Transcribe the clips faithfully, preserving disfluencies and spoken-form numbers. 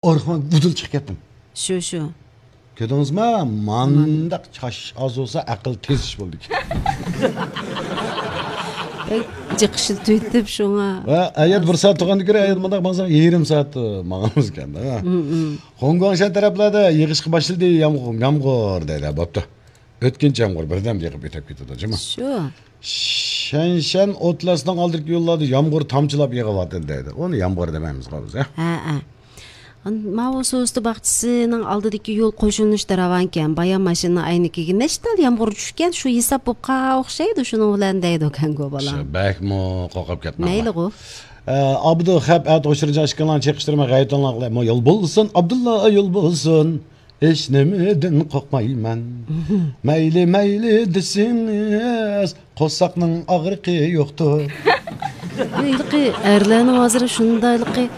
ئارقىمغا ۋۇدۇل چىقىپ كەتتىم. شۇ، شۇ. كۆردىڭىزمۇ؟ مانداق چاش ئاز بولسا، ئەقىل تېز ئىش بولىدىكەن. بەك جىق ئىشلىتىۋېتىپ شۇڭا. ۋە ئەيەت بىر سائەت تۇرغاندىن كۆرە، ئەيەت مۇنداق ماڭساق، يېرىم سائەت ماڭىمىزكەن. ھە. ھە، ھە. خۇڭگۇاڭشەن تەرەپلەردە يېغىشقا باشلىدى، يامغۇر، يامغۇر دەيدۇ. بوپتۇ. ئۆتكۈنچى يامغۇر بىردەم يېغىپ ئۆتۈپ كېتىدۇ، جۇمۇ. شۇ. شەنشەن ئوتلاسنىڭ ئالدىدىكى يوللاردا يامغۇر تامچىلاپ يېغىۋاتىدۇ دەيدۇ. ئۇنى يامغۇر دېمەيمىزغۇ بىز، ھە؟ ھە، ھە. ماۋۇ سۇ ئۈستى باغچىسىنىڭ ئالدىدىكى يول قوشۇلۇشتا راۋانكەن. بايا ماشىنىنىڭ ئەينىكىگە نەشتال يامغۇر چۈشكەن، شۇ ھېساب بولۇپ قالغان ئوخشايدۇ، شۇنىڭ بىلەن دەيدۇ كەنگۇ بالام. شۇ بەكمۇ قورقۇپ كەتمەڭلار. مەيلىغۇ. ئە، ئابدۇ خەپ ئەتە ئوشۇرجان ئىككىڭلارنى چېقىشتۇرماي غەيۋىتىڭلار قىلاي. يول بولسۇن، ئابدۇللا يول بولسۇن. ھېچنېمىدىن قورقمايمەن. مەيلى، مەيلى دېسىڭىز، قورساقنىڭ ئاغرىقى يوقتۇر. ھېلىقى ئەرلەرنىڭ ھازىر شۇنداقلىقى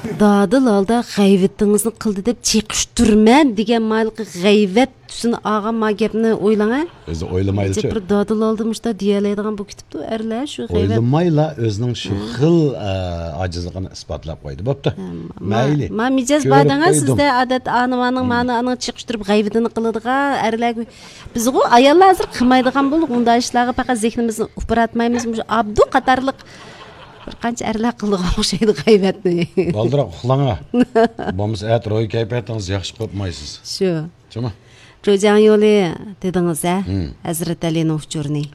دادىل ھالدا غەيۋىتىڭىزنى قىلدى دەپ چېقىشتۇرىمەن دېگەن مايلىقى غەيۋەت تۈسىنى ئالغان ما گەپنى ئويلاڭ ھە. ئۆزى ئويلىمايلىچۇ. بىر دادىل ھالدا مۇشتا دېيەلەيدىغان بۇ كېتىپتۇ ئەرلەر شۇ غەيۋەت. ئويلىمايلا ئۆزىنىڭ شۇ خىل، ئە، ئاجىزلىقىنى ئىسپاتلاپ قويدى. بوپتۇ. ھە، ما-، مەيلى. ما مىجەز بار دەڭە سىزدە ئادەتتە ئانىۋانىڭ مانى ئانىڭ چېقىشتۇرۇپ غەيۋىتىنى قىلىدىغان ئەرلەر. بىزغۇ ئاياللار ھازىر قىلمايدىغان بولدۇق ئۇنداق ئىشلارغا، پەقەت زېھنىمىزنى ئۇپراتمايمىز. مۇشۇ ئابدۇ قاتارلىق بىر قانچە ئەرلەر قىلىدىغان ئوخشايدۇ غەيۋەتنى. بالدۇراق ئۇخلاڭا. بولمىسا ئەتە روھىي كەيپىياتىڭىز ياخشى قوپمايسىز. شۇ. جۇمۇ. جۇجياڭ يولى دېدىڭىز ھە؟ ھەزرەت ئەلىنىڭ ئۇچۇرىنى.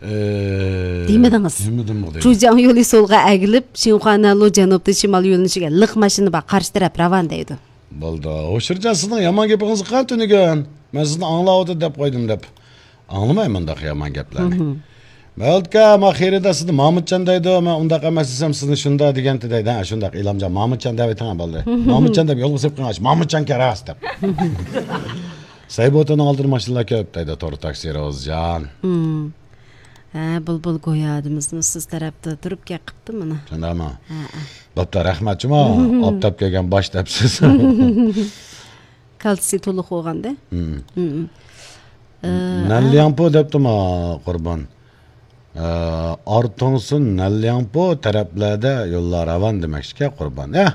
ئە، دېمىدىڭىز. دېمىدىمغۇ دەيمەن. جۇجياڭ يولى سولغا ئەگىلىپ، شىنخۇانەنلۇ جەنۇبتىن شىمال يۆنىلىشىگە لىق ماشىنا بار، قارشى تەرەپ راۋان دەيدۇ. بولدى. ھوشۇرجان سىزنىڭ يامان گېپىڭىزگە قارا تۈنۈگۈن. مەن سىزنى ئاڭلاۋاتىدۇ دەپ قويدۇم دەپ. ئاڭلىماي مۇنداق يامان گەپلەرنى. مەۋلۇتكا، ما خېرىدار سىزنى مامۇتجان دەيدۇ، مەن ئۇنداق ئەمەس دېسەم سىزنى شۇنداق دېگەنتى دەيدۇ. ھە، شۇنداق ئىلامجان، مامۇتجان دەۋېتىڭ بالىلار. مامۇتجان دەپ يولغا سېلىپ قويغاچ، مامۇتجانكەن راست دەپ. سەيبۇتىنىڭ ئالدىدا ماشىنىلار كۆپ دەيدۇ، تور تاكسى روزجان. ھە، بۇلبۇل گويا دېمىسىمۇ سىز تەرەپتە تۇرۇپ گەپ قىپتۇ مانا. شۇنداقمۇ؟ ھە، ھە. بوپتۇ، رەھمەت جۇمۇ. ئاپتاپ كەلگەن باش دەپسىز. كالتسىي تولۇق بولغاندا. نەنلياڭپو دەپتۇما قۇربان. ئارتۇڭسۇن، نەنلياڭپو تەرەپلەردە يوللار راۋان دېمەكچىكەن قۇربان. ئە،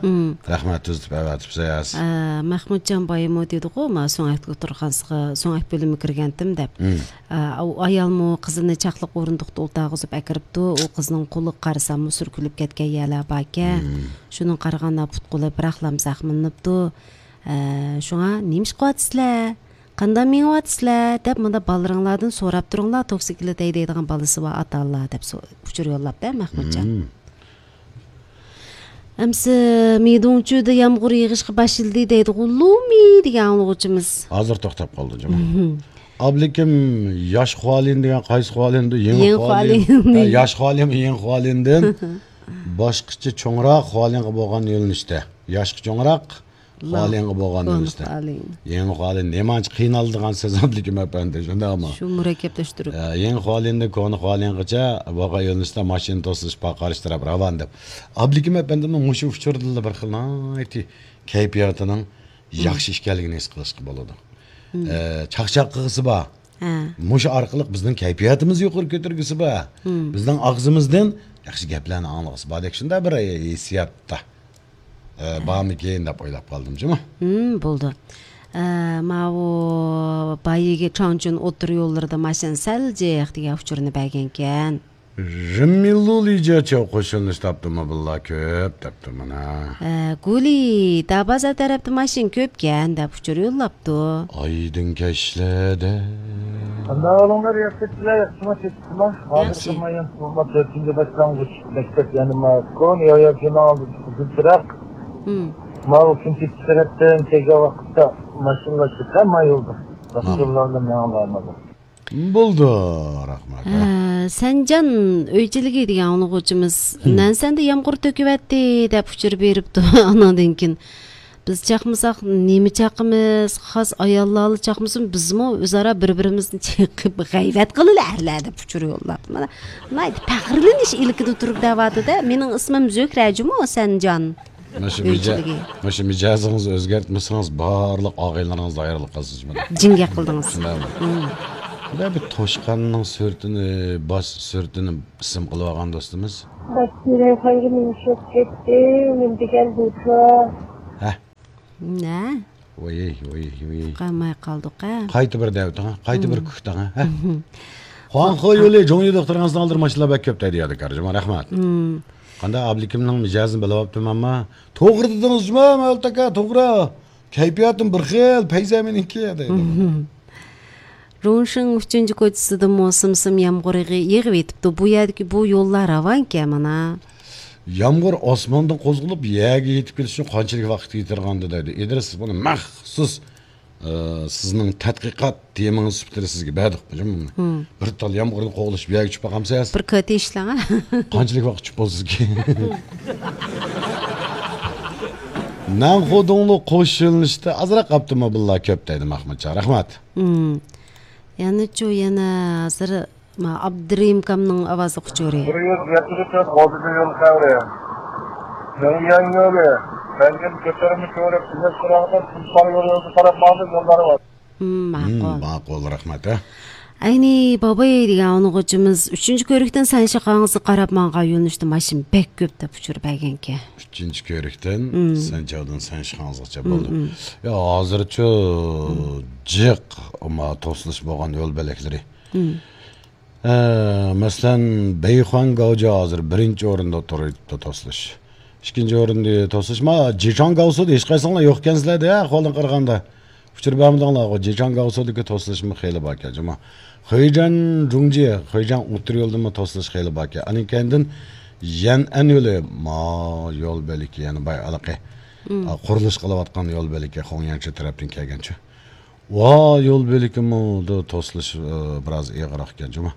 رەھمەت، تۈزىتىپ ئەۋەتىپسىز. ئە، مەخمۇتجان بايىمۇ دېدىغۇ، ما سۆڭەكتە ئولتۇرغانسىغا، سۆڭەك بۆلۈمىگە كىرگەنتىم دەپ. ئە، ئۇ ئايالمۇ قىزىنى چاقلىق ئورۇندۇقتا ئولتۇرغۇزۇپ ئەكىرىپتۇ. ئۇ قىزنىڭ قولىغا قارىساممۇ سۈركىلىپ كەتكەن يەرلەر باركەن. شۇنىڭغا قارىغاندا پۇت-قولى بىراقلام زەخىملىنىپتۇ. ئە، شۇڭا نېمە ئىش قىلىۋاتىسىلەر؟ قانداق مېڭىۋاتىسىلەر؟ دەپ مۇنداق بالىلىرىڭلاردىن سوراپ تۇرۇڭلار، توكسىكلىتەي دەيدىغان بالىسى بار ئاتا-ئانىلار دەپ سو-، ئۇچۇر يوللاپتۇ مەخمۇتجان. ئەمسە مىدۇڭچۈدە يامغۇر يېغىشقا باشلىدى دەيدىغۇ لۇمى دېگەن ئاڭلىغۇچىمىز. ھازىر توختاپ قالدى جۇمۇ. ئابلىكىم ياش خۇالىن دېگەن قايسى خۇالىندۇ؟ يېڭى خۇالىن. يېڭى خۇالىن. ھە، ياش خۇالىن، يېڭى خۇالىندىن باشقىچە چوڭراق خۇالىنغا بولغان يۆنىلىشتە. ياشقا چوڭراق، خۇالىنغا بولغان كونا يۆنىلىشتە. خۇالىن. يېڭى خۇالىن. نېمانچە قىينالىدىغان سۆز ئابلىكىم ئەپەندى، شۇنداقمۇ؟ شۇ مۇرەككەپلەشتۈرۈپ. ئە، يېڭى خۇالىندىن كونا خۇالىنغىچە بولغان يۆنىلىشتە ماشىنا توسۇلۇش بار، قارشى تەرەپ راۋان دەپ. ئابلىكىم ئەپەندىمنىڭ مۇشۇ ئۇچۇردىلا بىر خىل ناھايىتى كەيپىياتىنىڭ ياخشى ئىكەنلىكىنى ھېس قىلىشقا بولىدۇ. ئە، چاقچاق قىلغۇسى بار. ھە. مۇشۇ ئارقىلىق بىزنىڭ كەيپىياتىمىزنى يۇقىرى كۆتۈرگۈسى بار. بىزنىڭ ئاغزىمىزدىن ياخشى گەپلەرنى ئاڭلىغۇسى باردەك شۇنداق بىر ھېسسىياتتا. ئە، بارمىكىن دەپ ئويلاپ قالدىم جۇمۇ. ھىم، بولدى. ئە، ماۋۇ بايىگى چاڭچۈن ئوتتۇرا يوللىرىدا ماشىنا سەل جىق دېگەن ئۇچۇرنى بەرگەنكەن. رىممىلۇ لىجيەچياۋ قوشۇنلىشىپ تاپتىمۇ بالىلار كۆپ دەپتۇ مانا. ئە، گۇلى، دابازار تەرەپتە ماشىنا كۆپكەن دەپ ئۇچۇر يوللاپتۇ. ئايدىڭ كەچلەردە. قانداق ئەھۋالىڭلار، ياخشىمۇ، تېتىقلار؟ ھازىر ياخشى. تامايان سوغۇقلار تۆتىنچى باشلانغۇچ مەكتەپ يەنە ما كونا يايا كىنو ئالدىدا قىزىل چىراغ. ھىم. ماۋۇ كۈنتېپە تەرەپتىن كەلگەن ۋاقىتتا ماشىنىلار كۆپ ما يولدا. ھا. باشقىلارنى مېڭىڭلارمىدى. بولدى، رەھمەت. ھە، سەنجان ئۆيچىلىكى دېگەن ئاڭلىغۇچىمىز، ھىم. نەنسەندە يامغۇر تۆكۈۋەتتى دەپ ئۇچۇر بېرىپتۇ. ئاناندىن كېيىن بىز چاقمىساق نېمە چاقىمىز؟ خاس ئاياللارلا چاقمىسۇن، بىزمۇ ئۆزئارا بىر-بىرىمىزنى چېقىپ غەيۋەت قىلىلى ئەرلەر دەپ ئۇچۇر يوللاپتۇ. مانا، ناھايىتى پەخىرلىنىش ئىلكىدە تۇرۇپ دەۋاتىدۇ. مېنىڭ ئىسمىم زۆھرە جۇمۇ، سەنجان. مانا شۇ مىجە-، ئۆيچىلىكى. مانا شۇ مىجەزىڭىزنى ئۆزگەرتمىسىڭىز، بارلىق ئاغىنىلىرىڭىز ھەيرانلىق قىلسۇن. جىڭگەك قىلدىڭىز. شۇنداقمۇ؟ ھىم. بۇ بىر توشقاننىڭ سۈرىتىنى، باش سۈرىتىنى ئىسىم قىلىۋالغان دوستىمىز. باش سۈرەي خايرى مېنى شوق كەتتى، نېمە دېگەن بولسا. ھە؟ نە؟ ۋوي، ۋوي، ۋوي. قالماي قالدۇق، ھە؟ قايتا بىر دەۋېتىڭ، قايتا بىر كۈكتاڭ، ھە؟ خۇاڭخې يولى جۇڭيى دوختۇرىڭىزنى ئالدىرا ماشىنىلار بەك كۆپ دەيدۇ يادىكار جۇما، رەھمەت. قانداق ئابلىكىمنىڭ مىجەزىنى بىلىۋاپتىمەنما؟ توغرا دېدىڭىز جۇما، مەۋلۇت ئاكا، توغرا. كەيپىياتىم بىر خىل، پەيزى مېنىڭكى دەيدۇ. رۇڭشىڭ ئۈچىنچى كوچىسىدىمۇ سىم-سىم يامغۇر يېغى-، يېغىۋېتىپتۇ. بۇ يەردىكى بۇ يوللار راۋانكەن مانا. يامغۇر ئاسماندىن قوزغىلىپ، يەرگە يېتىپ كېلىش ئۈچۈن قانچىلىك ۋاقىت كېتىدىغاندۇ دەيدۇ. ئىدرىس، بۇنى مەخسۇس، ئى، سىزنىڭ تەتقىقات تېمىڭىز سۈپىتىدە سىزگە بەردۇق، بۇنى. بىر تال يامغۇرنى قوغلىشىپ يەرگە چۈشۈپ باقامسىز؟ بىر كاتى ئىشلەڭ. قانچىلىك ۋاقىت چۈشۈپ بولسىزكى؟ نەنخۇدۇڭلۇ قوش يۆنىلىشتە ئازراق ئاپتوموبىللار كۆپ دەيدۇ مەخمۇتجان. رەھمەت. يەنىچۇ، يەنە ھازىر ما، ئابدۇرېھىم ئاكامنىڭ ئاۋازلىق ئۇچۇرى. بىر يۈز يەتمىش تۆت غوزىچى يول خەۋىرى. مېڭيەن يولى، مەنگىن كۆتۈرمە كۆۋرۈك، تۈزەك قىراغىدا تۇلپار يولىغا قاراپ ماڭىدۇ، يوللار بار. مم، ماقۇل. مم، ماقۇل، رەھمەت، ھە. ئەينى باباي دېگەن ئاڭلىغۇچىمىز ئۈچىنچى كۆۋرۈكتىن سەنشىخاڭزىغا قاراپ ماڭغان يۆنىلىشتە ماشىنا بەك كۆپ دەپ ئۇچۇر بەرگەنكەن. ئۈچىنچى كۆۋرۈكتىن سەنچاۋدىن سەنشىخاڭزىغىچە بولدى. يا، ھازىرچۇ جىق، ئەمما توسۇلۇش بولغان يول بۆلەكلىرى. ئە، مەسىلەن، بەيخۇەن گاۋجا ھازىر بىرىنچى ئورۇندا تۇرۇۋېتىپتۇ توسۇلۇش. ئىككىنچى ئورۇندا توسۇلۇش، ما، جىچاڭ گاۋسۇدا ھېچقايسىڭلار يوق ئىكەنسىلەر-دە، ئەھۋالدىن قارىغاندا. ئۇچۇر بەرمىدىڭلارغۇ، جىچاڭ گاۋسۇدىكى توسۇلۇشمۇ خېلى باركەن، جۇما. خېيجەن جۇڭجى، خېيجەن ئوتتۇرا يولدىمۇ توسۇلۇش خېلى باركەن. ئاندىن كەينىدىن يەنئەن يولى، ما، يول بۆلىكى يەنە باي ئالىقى. قۇرۇلۇش قىلىۋاتقان يول بۆلىكى، خۇڭيەنچۈ تەرەپتىن كەلگەنچۇ. ۋا، يول بۆلىكىمۇ توسۇلۇش، ئى، بىراز ئېغىرراق ئىكەن جۇما.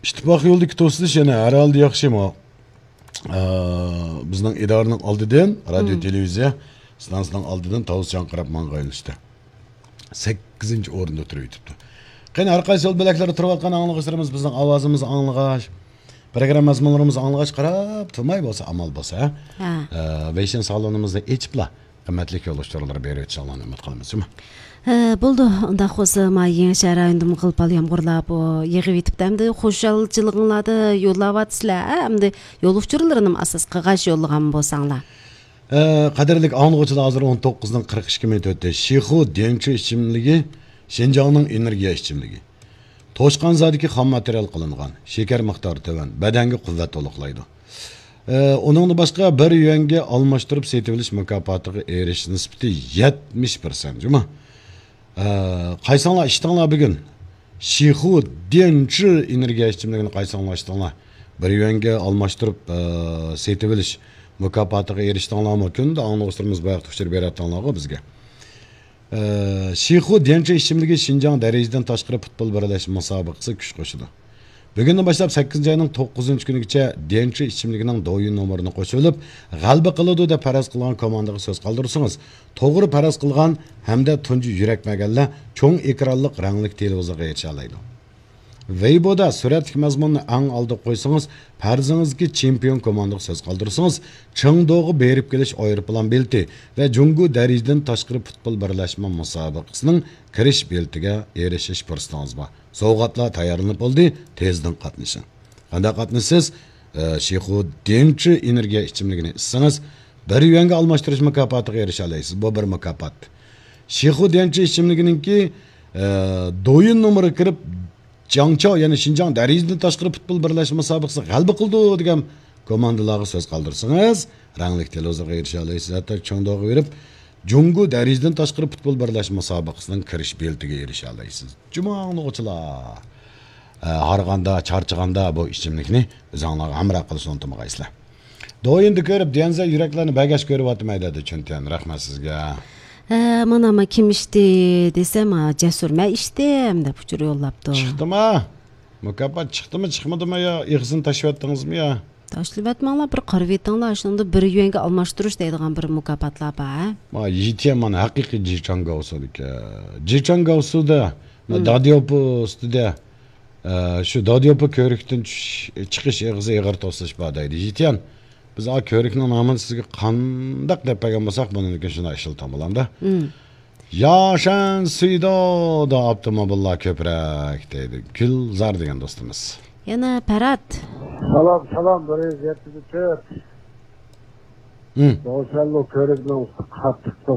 ئىتتىپاق يولىدىكى توسۇلۇش يەنە ھەر ھالدا ياخشى، ما. ئى، بىزنىڭ ئىدارىنىڭ ئالدىدىن، رادىيو، تېلېۋىزىيە ئىستانسىسىنىڭ ئالدىدىن تاۋۇز چاڭقىراپ ماڭغان يۆنىلىشتە سەككىزىنچى ئورۇندا تۇرۇۋېتىپتۇ. قېنى، ھەر قايسى يول بۆلەكلىرىدە تۇرۇۋاتقان ئاڭلىغۇچىلىرىمىز بىزنىڭ ئاۋازىمىزنى ئاڭلىغاچ، پروگرامما مەزمۇنلىرىمىزنى ئاڭلىغاچ قاراپ تۇرماي بولسا، ئامال بولسا، ھە؟ ھە. ئى، ۋېيشىن سالونىمىزنى ئېچىپلا، قىممەتلىك يول ئۇچۇرلىرى بېرىۋېتىشىڭلارنى ئۈمىد قىلىمىز، جۇما. ھە، بولدى. ئۇنداق بولسا، ما يېڭىشەھەر رايونىدىمۇ غىل-پال يامغۇرلار بۇ يېغىۋېتىپتۇ. ئەمدى خۇشالچىلىقىڭلاردا يوللاۋاتىسىلەر، ھە؟ ئەمدى يول ئۇچۇرلىرىنىمۇ ئاساس قىلغاچ يوللىغان بولساڭلار. ئە، قەدىرلىك ئاڭلىغۇچىلار، ھازىر ئون توققۇزنىڭ قىرىق ئىككى مىنۇت ئۆتتى. شىخۇ ديەنچۈ ئىچىملىكى شىنجاڭنىڭ ئېنېرگىيە ئىچىملىكى. توشقان زادىكى خام ماتېرىيال قىلىنغان، شېكەر مىقدارى تۆۋەن، بەدەنگە قۇۋۋەت تولۇقلايدۇ. ئە، ئۇنىڭدىن باشقا، بىر يۈەنگە ئالماشتۇرۇپ سېتىۋېلىش مۇكاپاتىغا ئېرىشىش نىسبىتى يەتمىش پىرسەنت، جۇما. ئە، قايسىڭلار ئىچتىڭلار بۈگۈن؟ شىخۇ ديەنچۈ ئېنېرگىيە ئىچىملىكىنى قايسىڭلار ئىچتىڭلار؟ بىر يۈەنگە ئالماشتۇرۇپ، ئە، سېتىۋېلىش مۇكاپاتىغا ئېرىشتىڭلارمۇ؟ كۈندە ئاڭلىغۇچىلىرىمىز بۇ ھەقتە ئۇچۇر بېرىۋاتىدىغانلارغۇ بىزگە. ئە، شىخۇ ديەنچۈ ئىچىملىكى شىنجاڭ دەرىجىدىن تاشقىرى پۇتبول بىرلەشمە مۇسابىقىسىگە كۈچ قوشىدۇ. بۈگۈندىن باشلاپ سەككىزىنچى ئاينىڭ توققۇزىنچى كۈنىگىچە ديەنچۈ ئىچىملىكىنىڭ دويىن نومۇرىنى قوشۇۋېلىپ، غەلىبە قىلىدۇ دەپ پەرەز قىلغان كوماندىغا سۆز قالدۇرسىڭىز، توغرا پەرەز قىلغان ھەمدە تۇنجى يۈرەك بەرگەنلەر چوڭ ئېكرانلىق رەڭلىك تېلېۋىزورغا ئېرىشەلەيدۇ. ۋېيبودا سۈرەتلىك مەزمۇننى ئەڭ ئالدىغا قويسىڭىز، پەرىزىڭىزدىكى چېمپىيون كوماندىغا سۆز قالدۇرسىڭىز، چېڭدۇغا بېرىپ كېلىش ئايروپىلان بېلىتى ۋە جۇڭگو دەرىجىدىن تاشقىرى پۇتبول بىرلەشمە مۇسابىقىسىنىڭ كىرىش بېلىتىگە ئېرىشىش پۇرسىتىڭىز بار. سوۋغاتلار تەييارلىنىپ بولدى، تېزدىن قاتنىشىڭ. قانداق قاتنىشىسىز؟ ئە، شىخۇ ديەنچۈ ئېنېرگىيە ئىچىملىكىنى ئىچسىڭىز، بىر يۈەنگە ئالماشتۇرۇش مۇكاپاتىغا ئېرىشەلەيسىز. بۇ بىر مۇكاپات. شىخۇ ديەنچۈ ئىچىملىكىنىڭكى، ئە، دويىن نومۇرىغا كىرىپ، جاڭچاۋ، يەنى شىنجاڭ دەرىجىدىن تاشقىرى پۇتبول بىرلەشمە مۇسابىقىسىگە غەلىبە قىلدى دېگەن كوماندىلارغا سۆز قالدۇرسىڭىز، رەڭلىك تېلېۋىزورغا ئېرىشەلەيسىز. ھەتتا چېڭدۇغا بېرىپ، جۇڭگو دەرىجىدىن تاشقىرى پۇتبول بىرلەشمە مۇسابىقىسىنىڭ كىرىش بېلىتىگە ئېرىشەلەيسىز. جۇما ئاڭلىغۇچىلار، ئە، ھارغاندا، چارچىغاندا بۇ ئىچىملىكنى ئۆزۈڭلارغا ھەمراھ قىلىشنى ئۇنتۇمىغايسىلەر. دويىندا كۆرۈپ، ديەنزە يۈرەكلەرنى بەرگەچ كۆرۈۋاتىمەن دەيدۇ چۈنتيەن. رەھمەت سىزگە. ھە، مانا، ما كىم ئىچتى دېسە، ما جەسۇر، مەن ئىچتىم دەپ ئۇچۇر يوللاپتۇ. چىقتىما؟ مۇكاپات چىقتىمۇ، چىقمىدىمۇ يا؟ ئېغىزىنى تاشلىۋەتتىڭىزمۇ يا؟ تاشلىۋەتمەڭلار، بىر قارىۋېتىڭلار، شۇنىڭدا بىر يۈەنگە ئالماشتۇرۇش دەيدىغان بىر مۇكاپاتلار بار، ھە؟ ما، يىتيەن مانا ھەقىقىي جىچاڭ گاۋسۇدىكى. جىچاڭ گاۋسۇدا، ما، داديوپو ئۈستىدە، ئە، شۇ داديوپو كۆۋرۈكتىن چۈش-، چىقىش ئېغىزى ئېغىر توسۇلۇش بار دەيدۇ. يىتيەن، بىز ئا كۆۋرۈكنىڭ نامىنى سىزگە قانداق دەپ بەرگەن بولساق، بۇنىڭدىن كېيىن شۇنداق ئىشلىتىڭ بولامدا. ياشەن سۈيدۇدا ئاپتوموبىللار كۆپرەك دەيدۇ گۈلزار دېگەن دوستىمىز. يەنە پەرھات. سالام، سالام، بىر يۈز يەتمىش تۆت. دوشەنبە كۆرۈكنىڭ قاتتىق